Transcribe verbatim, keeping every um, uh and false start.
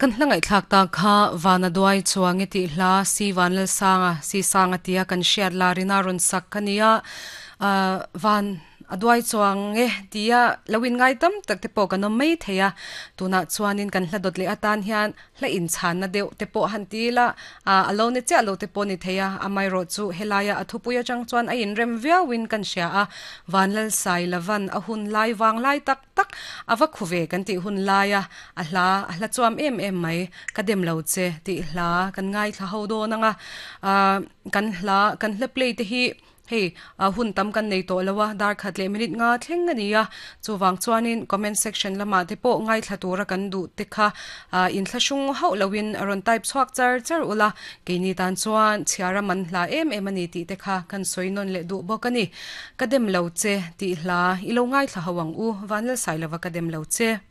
Kan hla ngaihthlak ta kha vana duai chuang e tih hla si van lal sanga si sanga tia kan hriat larina rawn sak ka nia ah van a duai chuang e tia loin ngai tam tak te pawh kan awm mai thei a tunah chuanin kan hla dawt leh atan hian hla inchhan na deuh te pawh han ti ila ah a lo ni chiah lo te pawh ni thei a amaherawh chu helai a a thupui atang chuan a inrem viauin kan hria a van lal sai lavan a hun lai vang lai tak tak a va khu ve kan tih hun lai a a hla a hla chuam em em mai ka dem lo che tih hla kan ngai thla ho dawn anga ah kan hla kan hla play te hi hei a hun tam kan nei tawh lo a dar khat leh minute nga thleng ani a chuwang chuanin comment section lama te pawh ngai thla tura kan duh te kha a in thla hrung hauh loin a rawn type chhuak char char ula keini tan chuan chhiara man hla em em ani tih te kha kan sawi nawn leh duh bawk ani ka dem lo che tih hla ilo ngai thla ho ang u vanlal sai lova ka dem lo che.